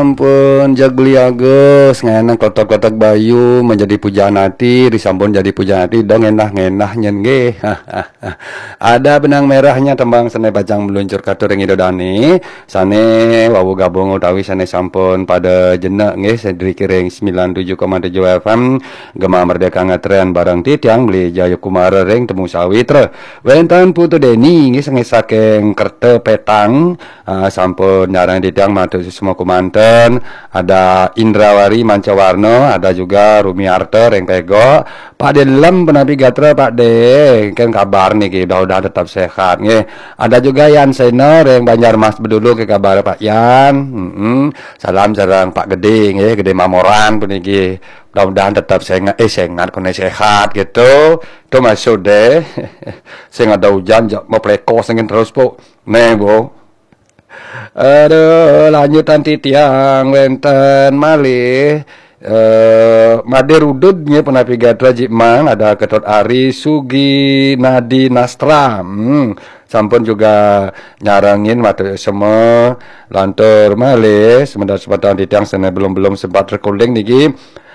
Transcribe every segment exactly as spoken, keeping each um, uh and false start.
Ampun, jagli agus, ngenah kletek-kletek bayu, menjadi pujaan ati, disampun jadi pujaan ati, dong ngenah-ngenah nyen nggih. Ada benang merahnya tembang sane pacang meluncur katur ring Ida Dane, sane wau gabung utawi sane sampun pada jenek nggih, sadriki ring sembilan tujuh koma tujuh F M, Gema Merdeka ngetren bareng titiang Beli Jayakumara ring Temu Sawitra. Wenten Putu Deni nggih, sane saking Kerta Petang, ah, sampun nyarengin titiang matur suksma kumanten. Ada Indrawari Mancawarna, ada juga Rumiarta ring Pegok. Pak De Lem punapi gatra, Pak De? Kan kabar niki, mudah-mudahan tetap sehat nggih. Ada juga Yan Sena ring Banjarmas Bedulu, ke kabar Pak Yan? Mm-mm. Salam sareng Pak Gede nggih, Gede Mamoran puniki. Mudah-mudahan tetap sengat, eh, sengat, kone sehat gitu. Itu maksud deh. Sing ada hujan, ja-, mau plekos angin terus, Bu. Nih, Bu. Aduh, lanjutan titiang wenten malih, eh, Made Rudud nggih, punapi gatra jik mang, ada Ketut Ari Sugi Nadi Nastra. Hmm, sampun juga nyarengin matur sema lantur malih semeton-semeton titiang sane belum-belum sempat recording niki.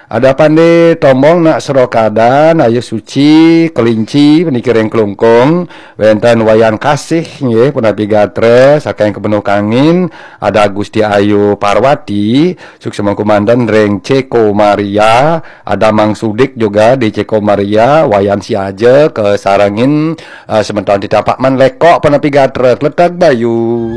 Ada Pande Tombong Nak Serokadan, Ayu Suci, Kelinci, puniki ring Klungkung, wenten Wayan Kasih, nggih, punapi gatra, saking Kepenuh Kangin, ada Gusti Ayu Parwati, suksma kumanten ring Ceko Maria, ada Mang Sudik juga di Ceko Maria, Wayan Siaja, kasarengin, eh, semeton titiang Pak Man Lekok, punapi gatra, kletek bayu.